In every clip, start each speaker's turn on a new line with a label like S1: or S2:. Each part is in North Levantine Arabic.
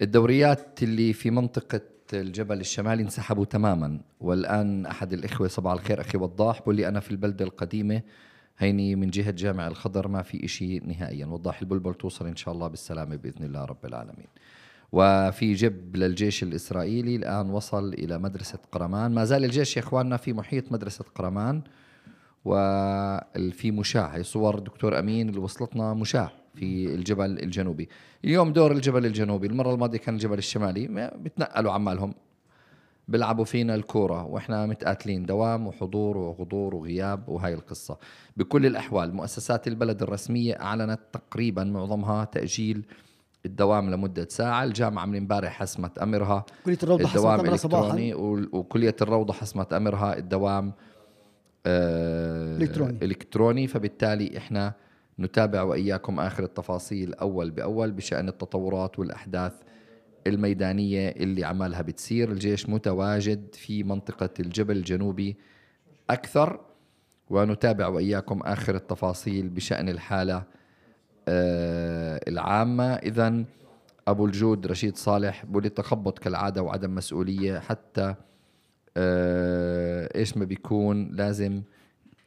S1: الدوريات اللي في منطقة الجبل الشمالي انسحبوا تماما، والآن أحد الإخوة صباح الخير أخي وضاح بقول لي أنا في البلدة القديمة هيني من جهة جامع الخضر ما في إشي نهائيا. وضاح البلبل توصل إن شاء الله بالسلامة بإذن الله رب العالمين. وفي جب للجيش الإسرائيلي الآن وصل إلى مدرسة قرمان. ما زال الجيش يا إخواننا في محيط مدرسة قرمان، وفي مشاة. هي صور دكتور أمين اللي وصلتنا مشاة في الجبل الجنوبي. اليوم دور الجبل الجنوبي، المرة الماضية كان الجبل الشمالي، بتنقلوا عمالهم بيلعبوا فينا الكورة وإحنا متقاتلين دوام وحضور وغضور وغياب. وهاي القصة بكل الأحوال مؤسسات البلد الرسمية أعلنت تقريبا معظمها تأجيل الدوام لمدة ساعة. الجامعة من امبارح حسمت أمرها
S2: كلية الروضة
S1: الدوام
S2: حسمت
S1: إلكتروني، وكلية الروضة حسمت أمرها الدوام إلكتروني. فبالتالي إحنا نتابع وإياكم آخر التفاصيل أول بأول بشأن التطورات والأحداث الميدانية اللي عمالها بتصير. الجيش متواجد في منطقة الجبل الجنوبي أكثر، ونتابع وإياكم آخر التفاصيل بشأن الحالة العامة. إذن أبو الجود رشيد صالح بولي تخبط كالعادة وعدم مسؤولية، حتى إيش ما بيكون لازم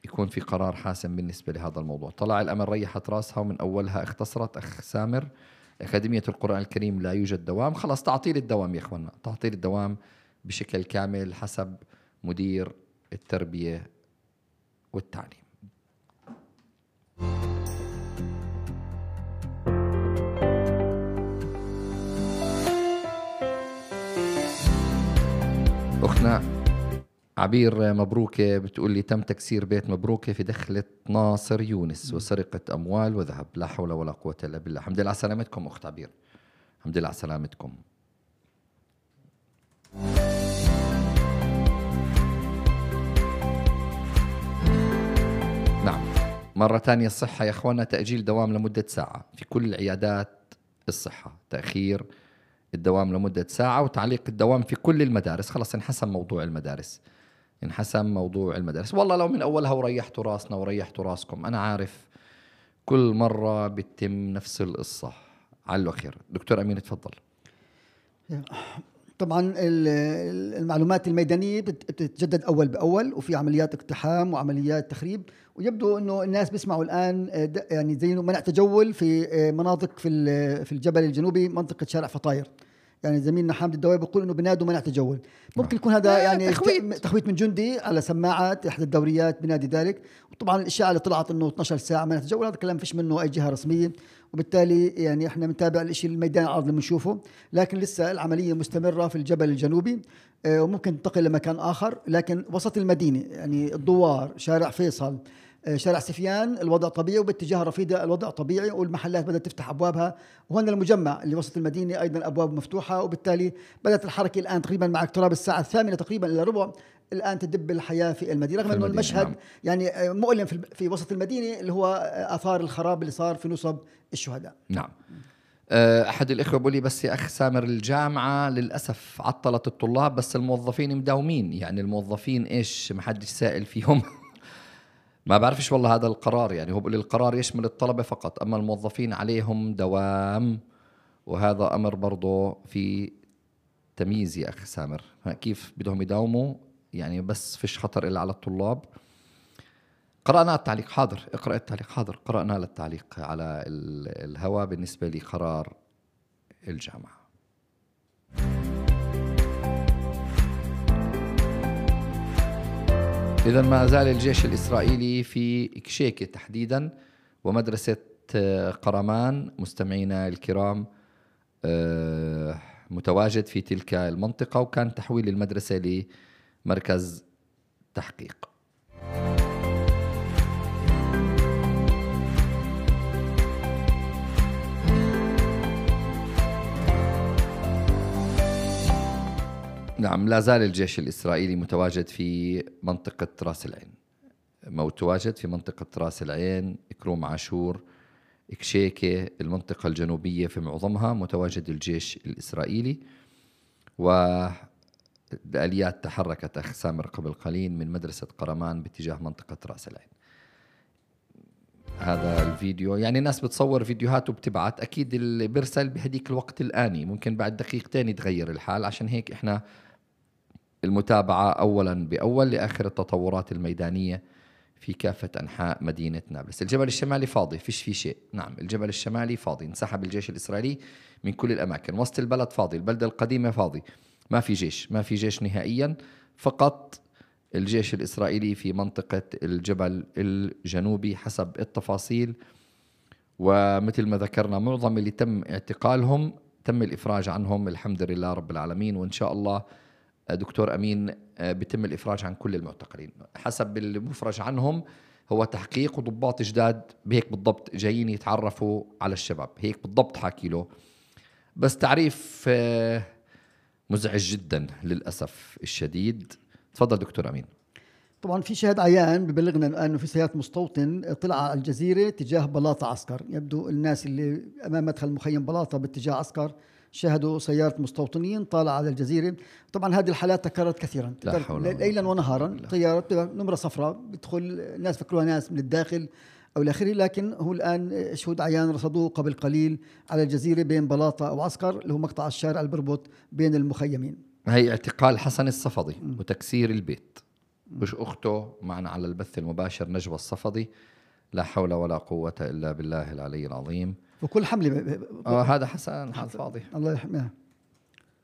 S1: يكون في قرار حاسم بالنسبة لهذا الموضوع. طلع الأمل ريحت راسها ومن أولها اختصرت. أخ سامر، أكاديمية القرآن الكريم لا يوجد دوام. خلاص تعطيل الدوام يا إخوانا، تعطيل الدوام بشكل كامل حسب مدير التربية والتعليم. أختنا عبير مبروكة بتقول لي تم تكسير بيت مبروكة في دخلة ناصر يونس وسرقة أموال وذهب. لا حول ولا قوة إلا بالله. الحمد لله على سلامتكم أخت عبير، الحمد لله على سلامتكم. نعم مرة تانية الصحة يا أخوانا، تأجيل دوام لمدة ساعة في كل عيادات الصحة، تأخير الدوام لمدة ساعة وتعليق الدوام في كل المدارس. خلاص انحسم موضوع المدارس، انحسم موضوع المدارس. والله لو من أولها وريحتوا راسنا وريحتوا راسكم. أنا عارف كل مرة بتتم نفس القصة. علو خير. دكتور أمين تفضل.
S2: طبعا المعلومات الميدانية بتتجدد أول بأول، وفي عمليات اقتحام وعمليات تخريب، ويبدو أنه الناس بيسمعوا الآن يعني زي منع تجول في مناطق في الجبل الجنوبي، منطقة شارع فطاير. يعني زميلنا حامد الدواوي بيقول انه بنادوا منع تجول. ممكن يكون هذا يعني تخويت من جندي على سماعات احدى الدوريات بنادي ذلك. وطبعا الاشاعه اللي طلعت انه 12 ساعه منع تجول، هذا كلام فيش منه اي جهه رسميه، وبالتالي يعني احنا بنتابع الشيء الميدان العرض اللي بنشوفه. لكن لسه العمليه مستمره في الجبل الجنوبي، وممكن تنتقل لمكان اخر. لكن وسط المدينه يعني الدوار، شارع فيصل، شارع سفيان الوضع طبيعي، وباتجاه رفيدة الوضع طبيعي، والمحلات بدأت تفتح أبوابها. وهنا المجمع اللي وسط المدينة أيضا أبواب مفتوحة، وبالتالي بدأت الحركة الآن تقريبا مع اقتراب الساعة 8 تقريبا إلى ربع الآن تدب الحياة في المدينة، رغم أنه المشهد نعم. يعني مؤلم في وسط المدينة، اللي هو آثار الخراب اللي صار في نصب الشهداء.
S1: نعم. أحد الإخوة بقول لي بس يا أخ سامر الجامعة للأسف عطلت الطلاب بس الموظفين مداومين. يعني الموظفين إيش محدش سائل فيهم ما بعرفش والله هذا القرار. يعني هو بقول القرار يشمل الطلبة فقط، أما الموظفين عليهم دوام، وهذا أمر برضو في تمييز يا أخ سامر. كيف بدهم يداوموا يعني بس فيش خطر إلا على الطلاب. قرأنا التعليق، حاضر اقرأ التعليق، حاضر قرأنا التعليق على الهواء بالنسبة لقرار الجامعة. إذن ما زال الجيش الإسرائيلي في إكشيكة تحديدا ومدرسة قرمان مستمعينا الكرام متواجد في تلك المنطقة، وكان تحويل المدرسة لمركز تحقيق. نعم لا زال الجيش الإسرائيلي متواجد في منطقة راس العين، متواجد في منطقة راس العين، كروم عاشور، إكشيكة، المنطقة الجنوبية في معظمها متواجد الجيش الإسرائيلي. والآليات تحركت أخ سامر قبل قليل من مدرسة قرمان باتجاه منطقة راس العين. هذا الفيديو. يعني الناس بتصور فيديوهات وبتبعت، أكيد اللي بيرسل بهديك الوقت الآني، ممكن بعد دقيقتين يتغير الحال. عشان هيك إحنا المتابعة أولا بأول لآخر التطورات الميدانية في كافة أنحاء مدينة نابلس. الجبل الشمالي فاضي، فيش فيه شيء. نعم، الجبل الشمالي فاضي، انسحب الجيش الإسرائيلي من كل الأماكن. وسط البلد فاضي، البلدة القديمة فاضي، ما في جيش، ما في جيش نهائيا. فقط الجيش الإسرائيلي في منطقة الجبل الجنوبي حسب التفاصيل. ومثل ما ذكرنا معظم اللي تم اعتقالهم تم الإفراج عنهم الحمد لله رب العالمين. وإن شاء الله دكتور أمين بيتم الإفراج عن كل المعتقلين. حسب المفرج عنهم هو تحقيق وضباط جداد بهيك بالضبط جايين يتعرفوا على الشباب، هيك بالضبط حاكي له. بس تعريف مزعج جدا للأسف الشديد. تفضل دكتور أمين.
S2: طبعا في شاهد عيان ببلغنا أنه في سيارة مستوطن طلع على الجزيرة تجاه بلاطة عسكر. يبدو الناس اللي أمام مدخل مخيم بلاطة باتجاه عسكر شاهدوا سيارة مستوطنين طالعة على الجزيرة. طبعا هذه الحالات تكررت كثيرا، ليلا ونهارا. طيارة نمرة صفراء بدخل الناس فكروها ناس من الداخل أو الآخري، لكن هو الآن شهود عيان رصدوه قبل قليل على الجزيرة بين بلاطة أو عسكر، اللي هو مقطع الشارع اللي بربط بين المخيمين.
S1: هي اعتقال حسن الصفدي وتكسير البيت. مش أخته معنا على البث المباشر نجوى الصفدي. لا حول ولا قوة إلا بالله العلي العظيم.
S2: وكل حملة
S1: هذا حسن حال فاضي،
S2: الله يحميه.